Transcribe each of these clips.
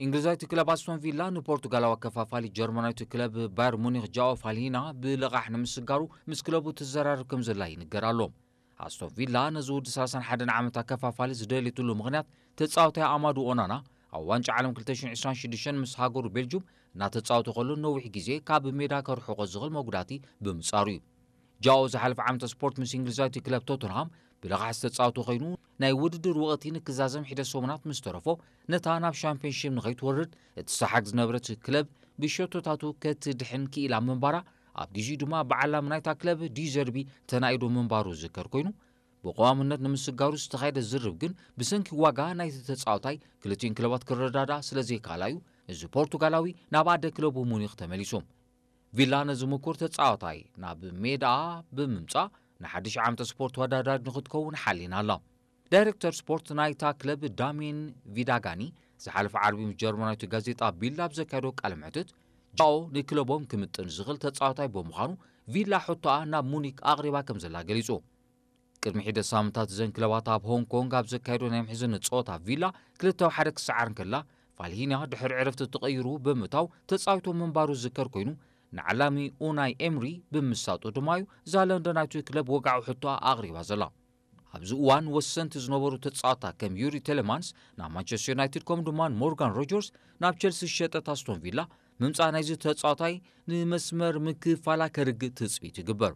እንግሊዛዊት ክለብ ኣስቶን ቪላ ንፖርቱጋላዊ ኣከፋፋሊ ጀርመናዊት ክለብ ባየር ሙኒክ ጃኦ ፋልሂና ብልቓሕ ንምስጋሩ ምስ ክለቡ ትዘራረብ ከም ዘላ ይንገር ኣሎ። ኣስቶን ቪላ ነዚ ወዲ ሰላሳን ሓደን ዓመት ኣከፋፋሊ ዝደልየትሉ ምኽንያት ተጻዋታይ ኣማዱ ኦናና ኣብ ዋንጫ ዓለም ክልተ ሽሕን ዕስራን ሽዱሽተን ምስ ሃገሩ ቤልጁም እናተጻወተ ከሎ ነዊሕ ግዜ ካብ ሜዳ ከርሕቆ ዝኽእል መጉዳእቲ ብምጻሩ እዩ። ጃኦ ዝሓለፈ ዓመተ ስፖርት ምስ እንግሊዛዊት ክለብ ቶተንሃም ብልቓሕ ዝተጻወተ ኮይኑ ናይ ውድድር ወቕቲ ንክዛዘም ሒደት ሰሙናት ምስ ተረፎ ነታ ናብ ሻምፒዮንሺፕ ንኸይትወርድ እትሰሓግ ዝነበረት ክለብ ብሸቶታቱ ከትድሕን ክኢላ ምንባራ ኣብ ግዜኡ ድማ በዓል ላም ናይታ ክለብ ዲዘርቢ ተናኢዶ ምንባሩ ዝዝከር ኮይኑ ብቀዋምነት ንምስጋሩ ዝተኻየደ ዝርብ ግን ብሰንኪ ዋጋ ናይቲ ተጻዋታይ ክልቲኡን ክለባት ክረዳዳ ስለ ዘይከኣላ እዩ እዚ ፖርቱጋላዊ ናብ ኣደ ክለቡ ሙኒክ ተመሊሱ። ቪላ ነዚ ምኩር ተጻዋታይ ናብ ሜዳ ብምምጻእ ንሓድሽ ዓመተ ስፖርት ተወዳዳሪ ንክትከውን ሓሊና ኣላ። ዳይሬክተር ስፖርት ናይታ ክለብ ዳሚን ቪዳጋኒ ዝሓለፈ ዓርቢ ምስ ጀርመናዊት ጋዜጣ ቢልድ ኣብ ዘካየዶ ቃለ መሕትት ጃኦ ንክለቦም ክምጥን ዝኽእል ተጻዋታይ ብምዃኑ ቪላ ሕቶኣ ናብ ሙኒክ ኣቕሪባ ከም ዘላ ገሊጹ። ቅድሚ ሒደት ሳምንታት እዘን ክለባት ኣብ ሆንግ ኮንግ ኣብ ዘካየዶ ናይ ምሕዝነት ጸወታ ቪላ ክልተ ኣብ ሓደ ክሰዓር እንከላ ፋልሂንያ ድሕሪ ዕረፍቲ ተቐይሩ ብምእታው ተጻዊቱ ምንባሩ ዝዝከር ኮይኑ ንዓላሚ ኡናይ ኤምሪ ብምሳጡ ድማ እዩ እዛ ለንደናዊት ክለብ ወግዓዊ ሕቶኣ ኣቕሪባ ዘላ። ኣብዚ እዋን ወሰንቲ ዝነበሩ ተጻወታ ከም ዩሪ ቴለማንስ ናብ ማንቸስተር ዩናይትድ ከምኡ ድማ ሞርጋን ሮጀርስ ናብ ቸልሲ ዝሸጠት ኣስቶን ቪላ ምምጻእ ናይዚ ተጻዋታይ ንመስመር ምክፋላ ከርግእ ትጽቢት ይግበር።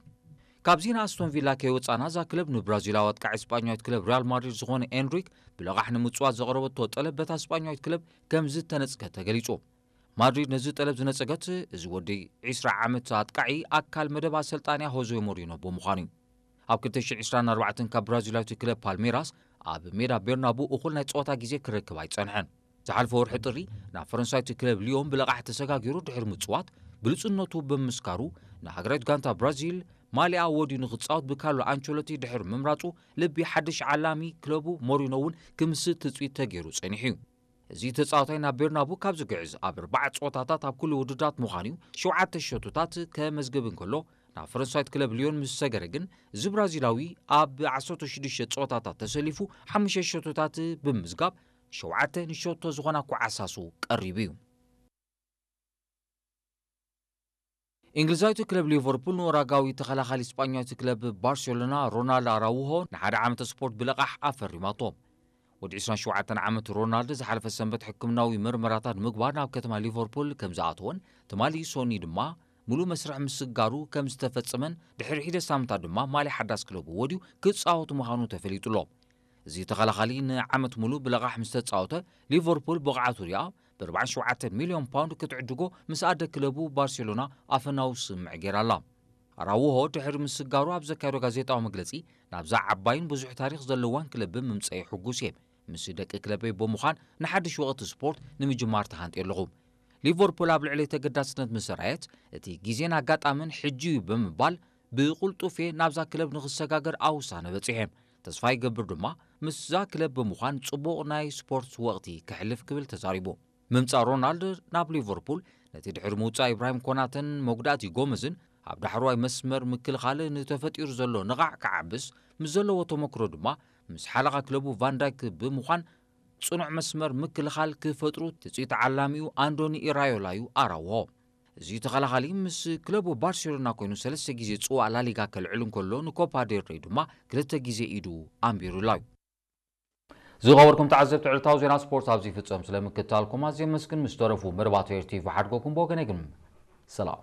ካብዚ ንኣስቶን ቪላ ከይወጻና እዛ ክለብ ንብራዚላዊ ኣጥቃዒ ስጳኛዊት ክለብ ሪያል ማድሪድ ዝኾነ ኤንሪክ ብልቓሕ ንምጽዋት ዘቕረበቶ ጠለብ በታ ስጳኛዊት ክለብ ከም ዝተነጽገ ተገሊጹ። ማድሪድ ነዚ ጠለብ ዝነጸገት እዚ ወዲ ዕስራ ዓመት ኣጥቃዒ ኣካል መደብ ኣሰልጣንያ ሆዜ ሞሪኖ ብምዃኑ እዩ። ኣብ ክልተ ሽሕን ዕስራን ኣርባዕተን ካብ ብራዚላዊት ክለብ ፓልሜራስ ኣብ ሜዳ ቤርናቡ እኹል ናይ ጸወታ ግዜ ክረክብ ኣይጸንሐን። ዝሓለፈ ወርሒ ጥሪ ናብ ፈረንሳዊት ክለብ ሊዮን ብልቓሕ ተሰጋጊሩ ድሕሪ ምጽዋት ብሉጽነቱ ብምስካሩ ንሃገራዊት ጋንታ ብራዚል ማሊኣ ወዲኡ ንክጻወት ብካርሎ ኣንቸሎቲ ድሕሪ ምምራጹ ልቢ ሓድሽ ዓላሚ ክለቡ ሞሪኖ እውን ክምስጥ ትጽቢት ተገይሩ ጸኒሑ እዩ። እዚ ተጻዋታይ ናብ ቤርናቡ ካብ ዝግዕዝ ኣብ ኣርባዓ ጸወታታት ኣብ ኩሉ ውድድራት ምዃኑ እዩ ሸውዓተ ሸቶታት ከመዝግብ እንከሎ ናብ ፈረንሳዊት ክለብ ሊዮን ምስ ሰገረ ግን እዚ ብራዚላዊ ኣብ ዓሰርተ ሽዱሽተ ጸወታታት ተሰሊፉ ሓሙሽተ ሸቶታት ብምዝጋብ ሸውዓተ ንሸቶ ዝኾና ኳዓሳሱ ቀሪቡ እዩ። እንግሊዛዊት ክለብ ሊቨርፑል ንኡራጋዊ ተኸላኻሊ ስጳኛዊት ክለብ ባርሴሎና ሮናልድ ኣራውሆ ንሓደ ዓመተ ስፖርት ብልቓሕ ኣፈሪማቶ። ወዲ ዕስራን ሸውዓተን ዓመት ሮናልድ ዝሓለፈ ሰንበት ሕክምናዊ ምርመራታት ንምግባር ናብ ከተማ ሊቨርፑል ከም ዝኣተወን ትማሊ ሶኒ ድማ ሙሉእ መስርሕ ምስጋሩ ከም ዝተፈጸመን ድሕሪ ሒደት ሳምንታት ድማ ማልያ ሓዳስ ክለቡ ወድዩ ክጻወት ምዃኑ ተፈሊጡ ኣሎ። እዚ ተኸላኻሊ ንዓመት ሙሉእ ብልቓሕ ምስ ተጻወተ ሊቨርፑል ብቕዓቱ ሪኣ ብ ኣርባዓን ሸውዓተን ሚልዮን ፓውንድ ክትዕድጎ ምስ ኣደ ክለቡ ባርሴሎና ኣፈናዊ ስምምዕ ገይራ ኣላ። ኣራውሆ ድሕሪ ምስጋሩ ኣብ ዘካየዶ ጋዜጣዊ መግለጺ ናብዛ ዓባይን ብዙሕ ታሪኽ ዘለዋን ክለብ ብምምጸይ ሕጉስ እየ። ምስ ደቂ ክለበይ ብምዃን ንሓድሽ ወቕቲ ስፖርት ንምጅማር ተሃንጥየ ኣለኹ። ሊቨርፑል ኣብ ልዕለይ ተገዳስነት ምስ ኣርኣየት እቲ ግዜን ኣጋጣምን ሕጂ እዩ ብምባል ብቕልጡፍ እየ ናብዛ ክለብ ንኽሰጋገር ኣብ ውሳነ በጺሐ። ተስፋ ይገብር ድማ ምስዛ ክለብ ብምዃን ጽቡቕ ናይ ስፖርት ወቕቲ ከሕልፍ ክብል ተዛሪቡ። ምምጻእ ሮናልድ ናብ ሊቨርፑል ነቲ ድሕሪ ምውጻእ ኢብራሂም ኮናተን መጉዳእቲ ጎመዝን ኣብ ዳሕረዋይ መስመር ምክልኻል ንተፈጢሩ ዘሎ ንቓዕ ክዓብስ ምስ ዘለዎ ተመክሮ ድማ ምስ ሓለቓ ክለቡ ቫንዳይክ ብምዃን ጽኑዕ መስመር ምክልኻል ክፈጥሩ ትጽቢት ዓላሚኡ ኣንዶኒ ኢራዮላ እዩ ኣራውሆ። እዚ ተኸላኻሊ ምስ ክለቡ ባርሴሎና ኮይኑ ሰለስተ ግዜ ጽዋእ ላሊጋ ከልዕል እንከሎ ንኮፓ ዴል ሬይ ድማ ክልተ ግዜ ኢዱ ኣንቢሩላ እዩ። ዝኸበርኩም ተዓዘብቲ ዕለታዊ ዜና ስፖርት ኣብዚ ይፍጸም። ስለ ምክትታልኩም ኣዝየ የመስግን። ምስ ተረፉ መደባት ኤር ቲቪ ሓድጎኩም ብወገነይ ግን ሰላም።